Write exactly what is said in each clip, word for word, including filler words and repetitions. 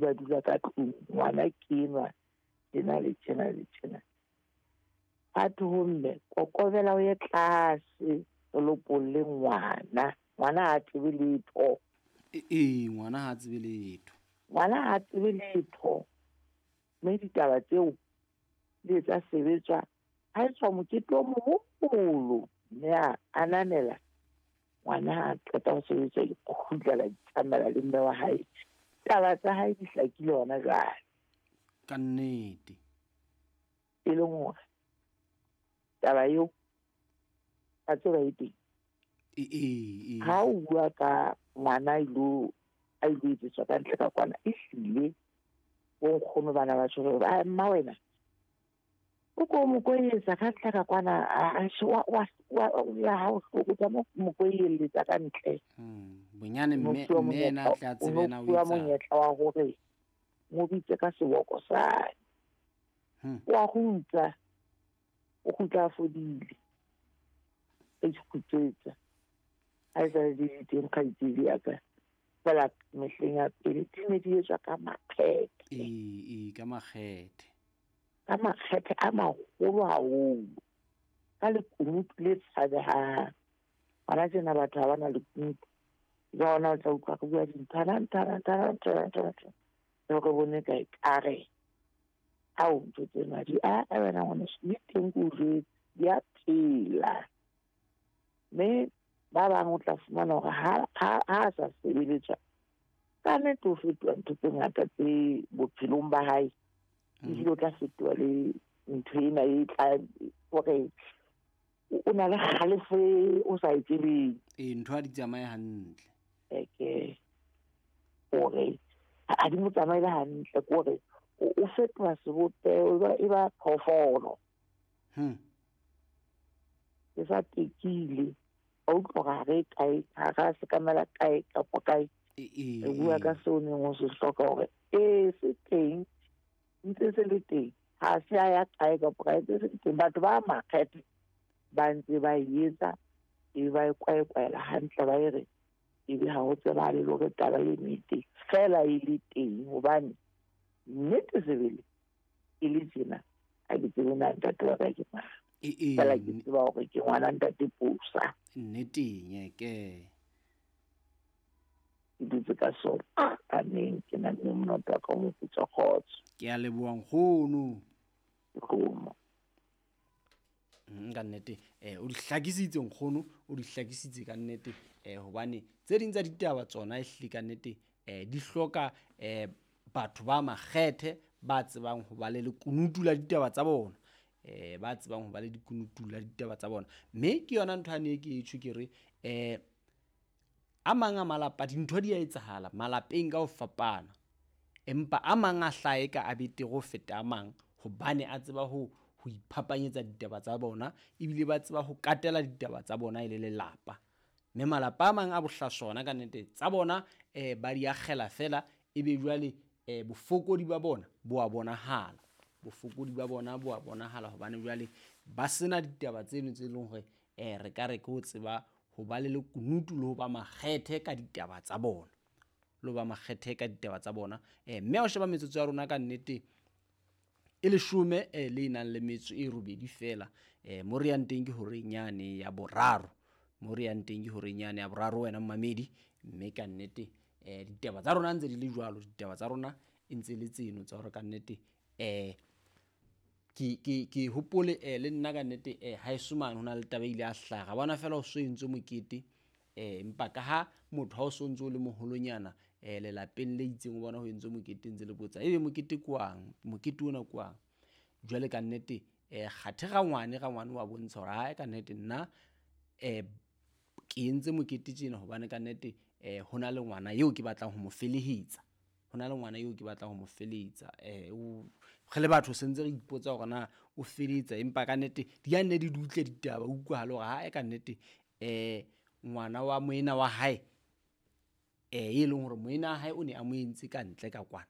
Ba dula ka tlung, ngwana ke enwa tjena le tjena le tjena. A thwe ho mme, kokobela o ye tlase o lopolle ngwana. Ngwana ha tsebe letho. Ee, ngwana ha tsebe letho. Ngwana ha tsebe letho. Mme ditaba tseo di etsa sebetswa, ha etswa mokete o moholo, mme a ananela ngwana ha qeta ho sebetswa, kgutlela tsamaela le mme wa hae. Taba tsa hae di hlakile hona jwale. Ka nnete. E leng hore taba eo a tseba e teng. E, e, e. Ha o bua ka ngwana a ilo, a ilo etsetswa ka ntle ka kwana, ehlile bo nkgono bana ba tjho hore, a mma wena o ko mo koeletsa ka ntle ka kwana, a, a, wa, wa, wa, ya hao hloko, tsa mo, mo koeletsa ka ntle. Hmm, bonyane O no mme, fuwa mme yena a monyetla, tla o tsebe no na o fuwa etsang. monyetla wa hore mo bitse ka seboko sa hae. Hmm. Wa kgutla, o kgutla a fodile. A ikgutsetsa. Ha e sa le di teng kgaitsedi ya ka. Fela mehleng ya pele di ne di etswa ka makgethe. Ee, ee, ka makgethe. Ka makgethe a maholo haholo. Ka lekunutu le tshabehang. Hona tjena batho ha ba na lekunutu. Jwale hona o tla utlwa re bua dinthwana, nthwana, nthwana, nthwana, nthwana, nthwana. Re re bone kae ka re, ao, ntho tsena di a, a wena ngwaneso, di teng ke o jwetse, di a phela. Mme ba bang o tla fumana hore ha, ha, ha a sa sebeletswa, ka nnete o fetoha ntho tse ngata tse bophelong ba hae. Mm. Ebile o tla fetoha le ntho ena e tla hore o na le kgalefo e o sa e tsebeng. Ee, ntho ha di tsamaye hantle. Eke hore ha di mo tsamaele hantle, ke hore o, o fetoha sebopeho, e ba, e ba phoofolo. Hmm. E sa tekile. A utlwa hore ha re kae, ha re a sekamela kae kapa kae. E, e, Re bua ka e. seo neng o se hloka hore ee, se teng, ntse se le teng. Ha se a ya kae kapa kae, ntse se le teng. Batho ba makgethe ba ntse ba e etsa, e ba e kwaekwaela hantle, ba e re ebe ha ho tsebahale le hore taba eno e teng. Feela e le teng hobane nnete sebele e le tjena, ha ke tsebe na ntate wa ka ke mang. E, e, Feela ke tseba hore ke ngwana ntate Pusa. Nneteng, e ke. Ke dutse ka sona. Amen. Ke na le monate wa ka o moputsa kgotso. Ke a leboha nkgono. Nkgono. Mm, ka nnete, eh, o di hlakisitse nkgono, o di hlakisitse ka nnete, eh, hobane tse ding tsa ditaba tsona ehlile ka nnete, eh, di hloka, eh, batho ba makgethe ba tsebang ho ba le lekunutu la ditaba tsa bona. Eh, ba tsebang ho ba le lekunutu la ditaba tsa bona. Mme ke yona ntho ane ke e tjho ke re, eh, a mang a malapa dintho di a etsahala malapeng ka ho fapana. Empa a mang a hlahe ka a betere ho feta a mang hobane a tseba ho, ho iphapanyetsa ditaba tsa bona, ebile ba tseba ho katela ditaba tsa bona e le lelapa. Mme malapa a mang a bohlaswa ka nnete tsa bona, eh, ba di akgela fela, ebe jwale, eh, bofokodi ba bona bo a bonahala. Bofokodi ba bona bo a bonahala hobane jwale ba sena ditaba tseno tse leng hore, eh, re ka re ke ho tseba ho ba le lekunutu le ho ba makgethe ka ditaba tsa bona. Le ho ba makgethe ka ditaba tsa bona. Eh, mme ha o sheba metsotso ya rona ka nnete e leshome, eh, le nang le metso e robedi fela. Eh, mo re yang teng ke horeng yane ya boraro. Mo re yang teng ke horeng yane ya boraro wena mmamedi. Mme ka nnete, eh, ditaba tsa rona ntse di le jwalo, ditaba tsa rona e ntse le tseno tsa hore ka nnete, eh, ke, ke, ke hopole, eh, le nna ka nnete, eh, haeso mane ho na le taba e ile ya hlaha. Ra bona fela ho so entswe mokete, eh, empa ka ha motho ha o so ntso o le moholonyana, eh, lelapeng le itseng o bona ho entswe mokete ntse le botsa, ebe mokete ke wang? Mokete ona ke wang? Jwale ka nnete, eh, kgathe rangwane, rangwane wa bontsha hore hae ka nnete nna, eh, ke entse mokete tjena hobane ka nnete, eh, ho na le ngwana eo ke batlang ho mo felehetsa. Ho na le ngwana eo ke batlang ho mo felehetsa. Eh, o, re le batho se ntse re ipotsa hore na o felehetsa, empa ka nnete di a nne di dutle ditaba, o utlwahale hore hae ka nnete, eh, ngwana wa moena wa hae, eh, e leng hore moena wa hae o ne a mo entse ka ntle ka kwana.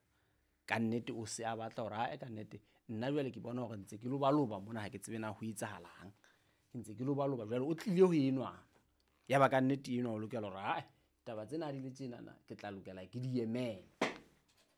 Ka nnete o se a batla hore hae ka nnete nna jwale ke bona hore ntse ke lobaloba mona, ha ke tsebe na ho etsahalang. Ke ntse ke lobaloba jwale o tlile ho enwa. Ya ba ka nnete enwa o lokela hore hae taba tsena ha di le tjenana ke tla lokela ke di emele.